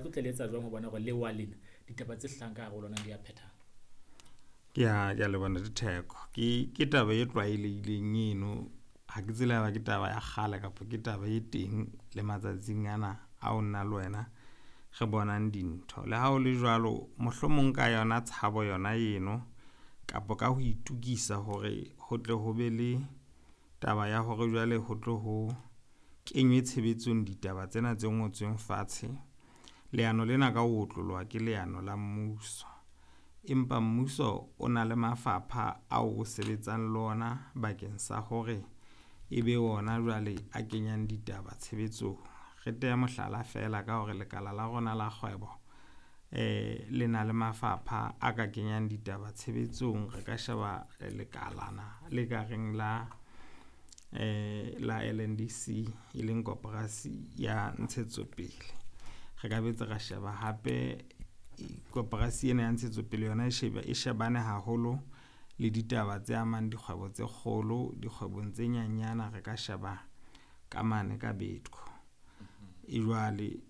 tlo tle le etsa jwang ho bona hore lewa lena ditaba tse hlahang ka hare ho lona di a phethahala? Ke a leboha Ntate Theko. Ke taba e tlwaelehileng eno, ha ke tsebe haeba ke taba ya kgale kapa ke taba e teng le matsatsing ana ao nna le wena re bonang dintho. Le ha o le jwalo, mohlomong ka yona tshabo yona eno kapa ka ho itukisa hore ho tle ho be le taba ya hore jwale ho tlo ho kenywe tshebetsong ditaba tsena tse ngotsweng fatshe. Leano lena ka ho otloloha ke leano la mmuso, empa mmuso o na le mafapha ao o sebetsang le ona bakeng sa hore ebe ona jwale a kenyang ditaba tshebetsong. Re tehe mohlala fela ka hore lekala la rona la kgwebo le na le mafapha a ka kenyang ditaba tshebetsong. Re ka sheba lekalana le ka reng la LNDC, e leng koporasi ya ntshetsopele. Re ka boetse ra sheba hape koporasi ena ya ntshetsopele yona e shebane haholo le ditaba tse amang dikgwebo tse kgolo, dikgwebong tse nyanyana re ka sheba ka mane ka BEDCO. E jwale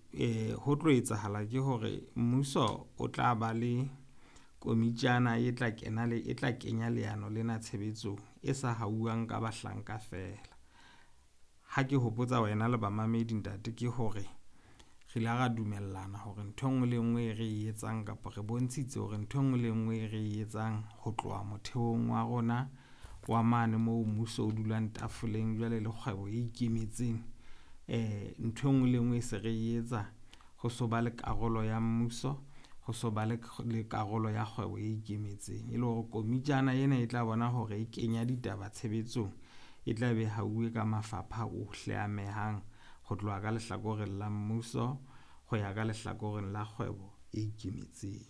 ho tlo etsahala ke hore mmuso o tla ba le komitjana e tla kena le, e tla kenya leano lena tshebetsong e sa hauwang ka bahlanka fela. Ha ke hopotsa wena le bamamedi ntate, ke hore re ile ra dumellana hore ntho e nngwe le e nngwe e re e etsang, kapa re bontshitse hore ntho e nngwe le e nngwe e re e etsang ho tloha motheong wa rona wa mane moo mmuso o dulang tafoleng jwale le kgwebo e ikemetseng, ntho e nngwe le e nngwe e se re e etsa ho so ba le karolo ya mmuso, ho so ba le karolo ya kgwebo e ikemetseng. E le hore komitjana ena e tla bona hore e kenya ditaba tshebetsong, e tla be hauwe ka mafapha ohle a amehang ho tloha ka lehlakoreng la mmuso ho ya ka lehlakoreng la kgwebo e ikemetseng.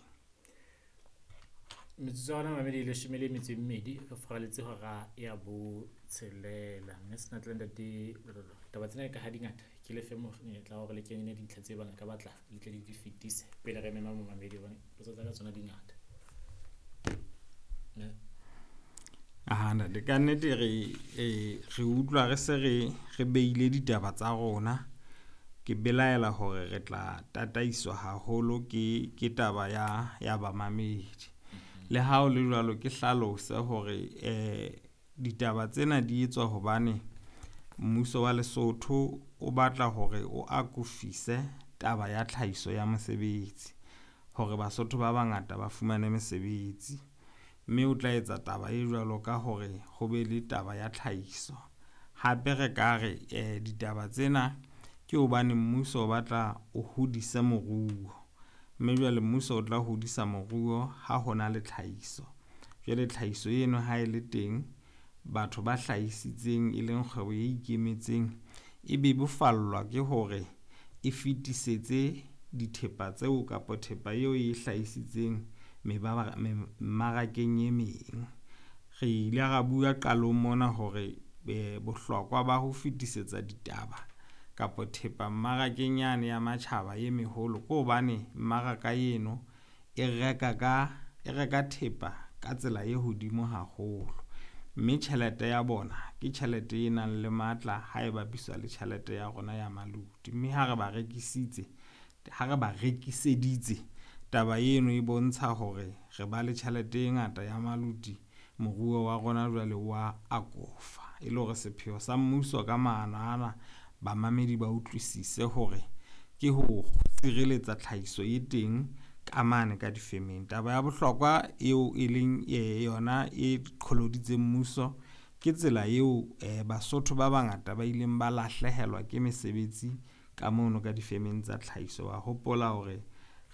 Metsotso ya rona mamedi 12, re furaletse hora ya botshelela. Mme Senatla Ntate Lololo, taba tsena ka ha di ngata, ke le fe monyetla wa hore le kenye dintlha tse bang le ka batla le tle le di fetise pele re mema momamedi, hobane potso tsa ka tsona di ngata. Aha, ntate, ka nnete re utlwa re se re beile ditaba tsa rona. Ke belaela hore re tla tataiswa haholo ke taba ya bamamedi. Le ha o le jwalo, ke hlalose hore ditaba tsena di etswa hobane mmuso wa Lesotho o batla hore o akofise taba ya tlhahiso ya mosebetsi, hore Basotho ba bangata ba fumane mesebetsi. Mme o tla etsa taba e jwalo ka hore ho be le taba ya tlhahiso. Hape re ka re ditaba tsena ke hobane mmuso o batla o hodise moruo, mme jwale mmuso o tla hodisa moruo ha hona le tlhahiso. Jwale tlhahiso eno ha e le teng, batho ba hlahisitseng e leng kgwebo e ikemetseng e bebofallwa ke hore e fetisetse dithepa tseo kapa thepa eo e hlahisitseng mmarakeng e meng. Re ile ra bua qalong mona hore bohlokwa ba ho fetisetsa ditaba kapa thepa mmarakeng yane ya matjhaba e meholo ke hobane mmaraka eno e reka thepa ka tsela e hodimo haholo, mme tjhelete ya bona ke tjhelete e nang le matla ha e bapiswa le tjhelete ya rona ya maluti. Mme ha re ba rekisitse, ha re ba rekiseditse, taba eno e bontsha hore re ba le tjhelete e ngata ya maluti, moruo wa rona jwale wa akofa. E le hore sepheo sa mmuso ka maano ana, bamamedi ba utlwisise hore ke ho sireletsa tlhahiso e teng ka mane ka difemeng. Taba ya bohlokwa eo e leng yona e qholoditseng mmuso ke tsela eo Basotho ba bangata ba ileng ba lahlehelwa ke mesebetsi ka mono ka difemeng tsa tlhahiso. Wa hopola hore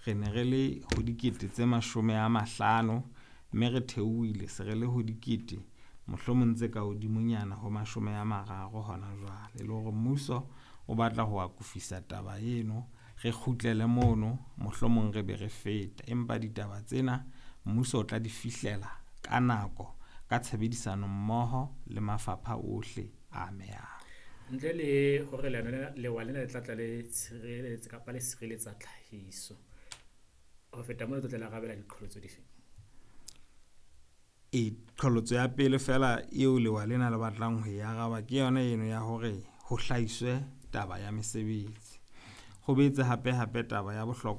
re ne re le ho 50 000, mme re theohile se re le ho dikete mohlomong tse ka hodimonyana ho 30 hona jwale. E le hore mmuso o batla ho akofisa taba eno, re kgutlele mono mohlomong re be re feta. Empa ditaba tsena mmuso o tla di fihlela ka nako, ka tshebedisano mmoho le mafapha ohle a amehang. Ntle le hore leano lena, lewa lena le tla tla le tshireletsa kapa le sireletsa tlhahiso, ho feta moo le tlo tla le arabela diqholotso dife? E, qholotso ya pele fela eo lewa lena le batlang ho e araba ke yona eno ya hore ho hlahiswe taba ya mesebetsi. Ho boetse hape hape taba ya bohlokwa